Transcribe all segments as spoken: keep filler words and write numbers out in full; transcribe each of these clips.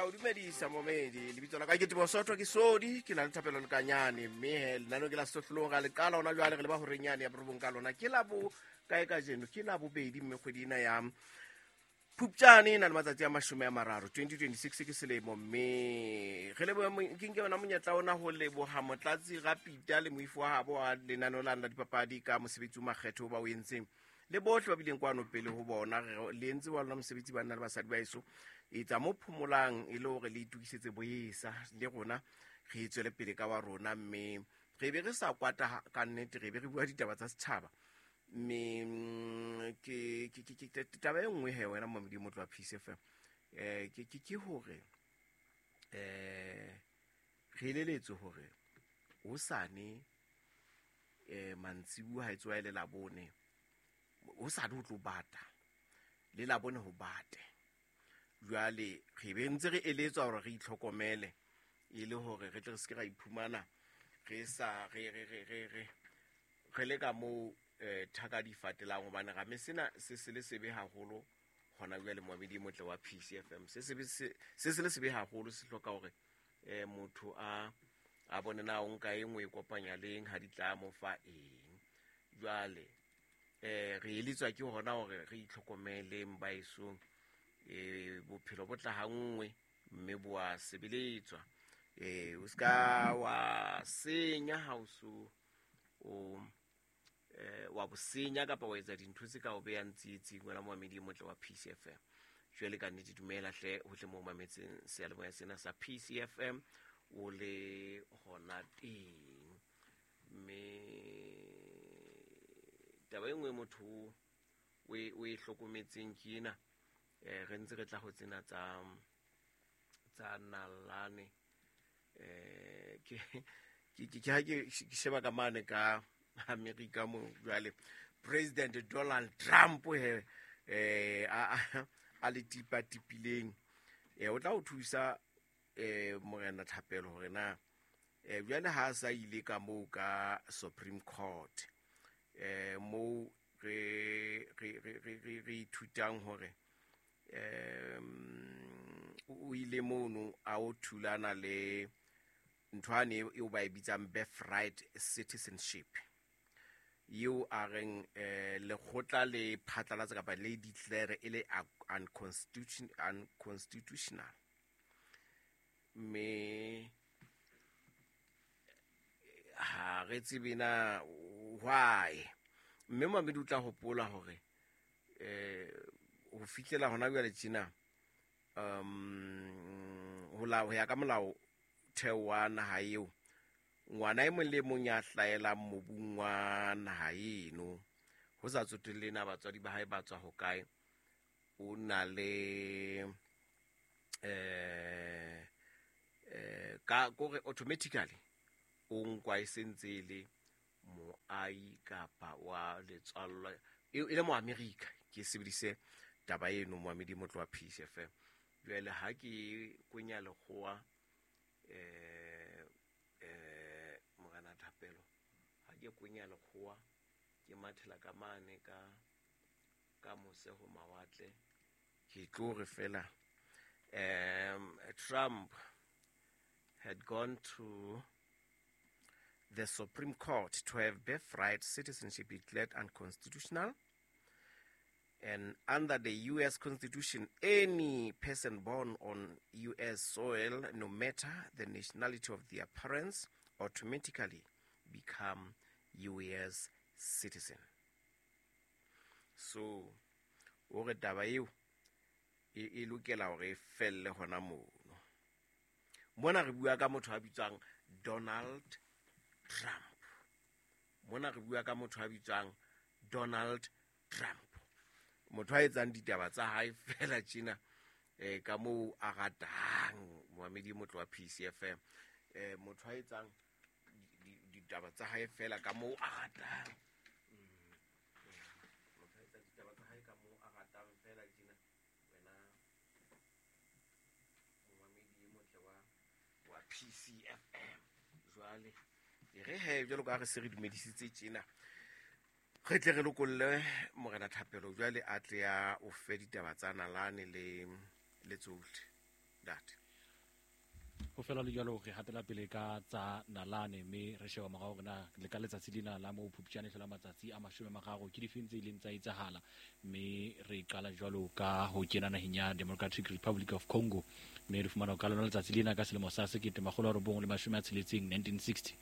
o dumedisa momedi. Lebitso la ka ke Teboho Sotho, ke Sodi, ke na le Thapelo Lekanyane, mme he lenaneo ke la Sehlohlolong. Ra le qala hona jwale, re leba horeng yane ya borobong ka lona. Ke la bo kae kajeno? Ke la bobedi, mme kgwedi ena ya Phupjane e na le matsatsi a mashome a mararo, twenty twenty-six ke selemo. Mme re leboha mo-, ke nke yona monyetla ona ho leboha Motlatsi Rapita le moifo wa habo wa lenaneo lana la dipapadi ka mosebetsi o makgetho o ba o entseng, le bohle ba bileng kwano pele ho bona. Re le entse wa lona mosebetsi, banna le basadi ba heso. Etsa mo phomolang e le hore le itokisetse boesa le rona re tswele pele ka wa rona, mme re be re sa kwata ha-, ka nnete, re be re bua ditaba tsa setjhaba. Mme, mm, ke, ke, ke, ke, taba e nngwe he wena Momedi Motlo wa P C F M, eh, ke, ke, ke hore, eh, re eleletswe hore hosane, eh, mantsibuya ha e tsoha e le Labone, hosane ho tlo bata, le Labone ho bate. Jwale re be ntse re eletswa hore re itlhokomele e le hore re tle re se ke ra iphumana re sa, re, re, re, re, re, re le ka moo, eh, thaka di fatelang, hobane ra me sena se se le sebe haholo hona jwale Moamedi Motle wa P C F M. Se sebe se, se se le sebe haholo, se hloka hore, eh, motho a, a bone na o nka e nngwe e kopanya leng ha di tla mo fa eng. Jwale, eh, re eletswa ke hona hore re itlhokomeleng baesong. Eh, bophelo bo tla ha nngwe mme bo a sebeletswa. Eh, o ska wa senya ha o so o, eh, wa bo senya kapa wa etsa dintho tse ka o behang tsietsing wena Moamedi Motle wa P C F M. Jwale ka nnete dumela hle hohle moo mametseng seyalemoya sena sa P C F M o le hona teng. Mme taba e nngwe motho o e, o e hlokometseng ke ena, eh, re ntse re tla ho tsena tsa, tsa nalane. Eh, ke, ke, ke, ke ha ke, ke sheba ka mane ka Amerika mo jwale President Donald Trump he, eh, a, a, a le tipa tipileng. Eh, o tla o thusa, eh, Morena Thapelo hore na, eh, jwale ha a sa ile ka moo ka Supreme Court, eh, moo re, re, re, re, re, re ithutang hore, em, o ile mono a o thulana le ntho ane eo ba e bitsang birthright citizenship, eo a reng, eh, lekgotla le phatlalatsa kapa le declare e le unconstitution-, unconstitutional. Mme ha re tsebe na why. Mme Mamedi o tla hopola hore, eh, ho fihlela hona jwale tjena, um, ho la, ho ya ka molao theo wa naha eo, ngwana e mong le mong ya hlahelang mobung wa naha eno, ho sa tsotelle na batswadi ba hae ba tswa hokae, o na le, eh, eh, ka kore automatically o nkwa e sentse e le moahi kapa wa letswallo, e, e le mo Amerika. Ke sebedise taba eno Moamedi Motlo wa P C F M. Jwale ha ke kwenya lekgowa, eh, eh, Morena Thapelo, ha ke kwenya lekgowa ke mathela ka mane ka, ka mose ho mawatle, ke tlo re fela, um, Trump had gone to the Supreme Court to have birthright citizenship declared unconstitutional. And under the U S Constitution, any person born on U S soil, no matter the nationality of their parents, automatically become U S citizen. So, hore taba eo e, e lokela hore e felle hona mono. Mona re bua ka motho a bitswang Donald Trump. Mona re bua ka motho a bitswang Donald Trump. Motho a etsang ditaba tsa hae fela tjena, eh, ka moo a ratang, Moamedi Motlo wa P C F M. Eh, motho a etsang di-, di-, ditaba tsa hae fela ka moo a ratang. Mm. Motho a etsang ditaba tsa hae ka moo a ratang fela tjena, wena Moamedi Motle wa, wa P C F M. Jwale e re he, jwalo ka ha re se re dumedisitse tjena, re tle re lokolle Morena Thapelo jwale a tle a o fe ditaba tsa nalane le, le tsohle. Ntate. Ho fela le jwalo re hatela pele ka tsa nalane, mme re sheba morao hore na le ka letsatsi lena la moo Phupjane hlola matsatsi a mashome a mararo ke difeng tse ileng tsa etsahala. Mme re qala jwalo ka ho kena naheng ya Democratic Republic of Congo, mme re fumana ka lona letsatsi lena ka selemo sa sekete makgolo a robong le mashome a tsheletseng nineteen sixty,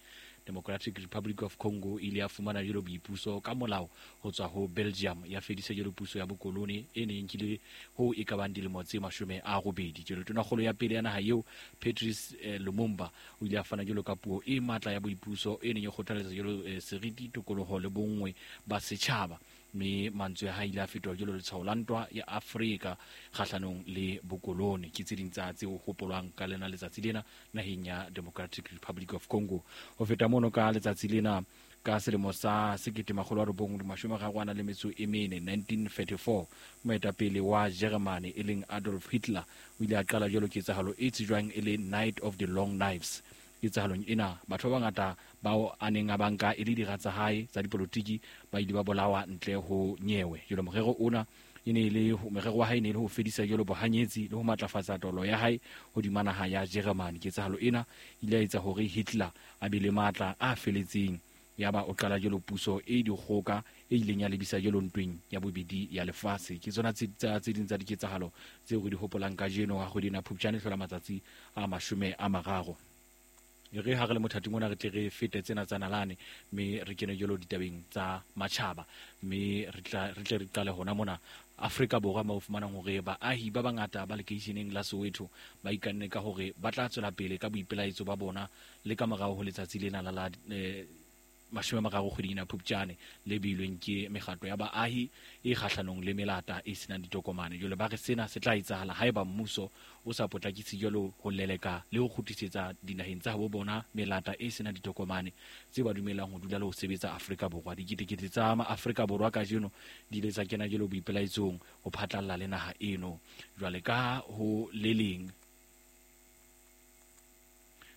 Democratic Republic of Congo e ile ya fumana jwalo boipuso ka molao ho tswa ho Belgium, ya fedisa jwalo puso ya bokolone e neng e nkile ho e ka bang dilemo tse mashome a robedi. Jwalo tonakgolo ya pele ya naha eo, Patrice eh, Lumumba, o ile a fana jwalo ka puo e matla ya boipuso e neng e kgothaletsa jwalo eh, seriti, tokoloho le bonngwe ba setjhaba. Mme mantswe a hae ile a fetoha jwalo letshwao la ntwa ya Afrika kgahlanong le bokolone. Ke tse ding tsa tse hopolwang ka lena letsatsi lena naheng ya Democratic Republic of Congo. Ho feta mono ka letsatsi lena ka selemo sa sekete makgolo a robong le mashome a mararo a nang le metso e mene nineteen thirty-four, moetapele wa Germany e leng Adolf Hitler o ile a qala jwalo ketsahalo e tsejwang e le Night of the Long Knives. Ketsahalong ena batho ba bangata bao a neng a banka e le dira tsa hae tsa dipolotiki ba ile ba bolawa ntle ho nyewe. Jwalo morero ona e ne e le morero wa hae e ne e le ho fedisa jwalo bohanyetsi le ho matlafatsa taolo ya hae hodima naha ya Germany. Ketsahalo ena e ile ya etsa hore Hitler a be le matla a feletseng, yaba o qala jwalo puso e dikgoka e ileng ya lebisa jwalo ntweng ya bobedi ya lefatshe. Ke tsona tse tse ding tsa diketsahalo tseo re di hopolang kajeno ha kgwedi ena Phupjane hlola matsatsi a mashome a mararo. Re ha re le mothating ona re tle re fete tsena tsa nalane, mme re kene jwalo ditabeng tsa matjhaba, mme re tla re tle re qale hona mona Afrika Borwa mo fumanang hore baahi ba bangata ba lekeisheneng la Soweto ba ikanne ka hore ba tla tswela pele ka boipelaetso ba bona le ka morao ho letsatsi lena la la eh, mashome a mararo kgweding ena Phupjane le beilweng ke mekgatlo ya baahi e kgahlanong le melata e senang ditokomane. Jwale ba re sena se tla etsahala haeba mmuso o sa potlakise jwalo ho leleka le ho kgutlisetsa dinaheng tsa habo bona melata e senang ditokomane tse ba dumelang ho dula le ho sebetsa Afrika Borwa. Diketekete tsa Maafrika Borwa kajeno di ile tsa kena jwalo boipelaetsong ho phatlalla le naha eno. Jwale ka ho le leng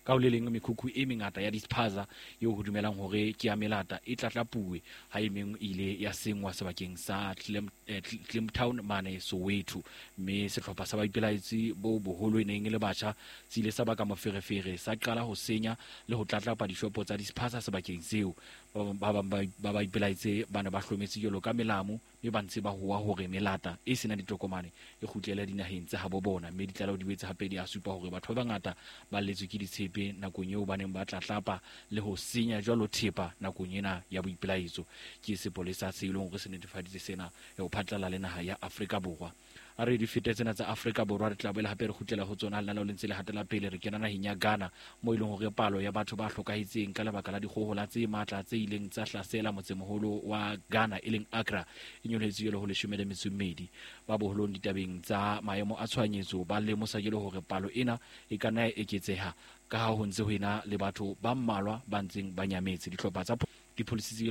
ka ho le leng mekhukhu e mengata ya dispaza eo ho dumelang hore ke ya melata e tlatlapuwe ha e meng e ile ya sengwa sebakeng sa Clem, eh, Clemtown mane Soweto. Mme sehlopha sa baipelaetsi bo boholo e neng e le batjha se ile sa baka moferefere, sa qala ho senya le ho tlatlapa dishopo tsa dispaza sebakeng seo. Ba bang ba baipelaetsi ba ne ba hlometse jwalo ka melamu, mme ba ntse ba howa hore melata e senang ditokomane e kgutlele dinaheng tsa habo bona. Mme ditlaleho di boetse hape di a supa hore batho ba bangata ba lletswe ke ditshepe nakong eo ba neng ba tlatlapa le ho senya jwalo thepa nakong ena ya boipelaetso. Ke sepolesa se ileng hore se netefaditse sena ho phatlalla le naha ya Afrika Borwa. A re di fete tsena tsa Afrika Borwa re tla boela hape re kgutlela ho tsona lenaneo le ntse le hatela pele. Re kena naheng ya Ghana mo e leng hore palo ya batho ba hlokahetseng ka lebaka la dikgohola tse matla tse ileng tsa hlasela motsemoholo wa Ghana e leng Accra e nyolohetse jwalo ho leshome le metso e mmedi. Ba boholong ditabeng tsa maemo a tshohanyetso ba lemosa jwalo hore palo ena e ka nna ya eketseha ka ha ho ntse ho ena le batho ba mmalwa ba ntseng ba nyametse. Dihlopha tsa dipholisi tse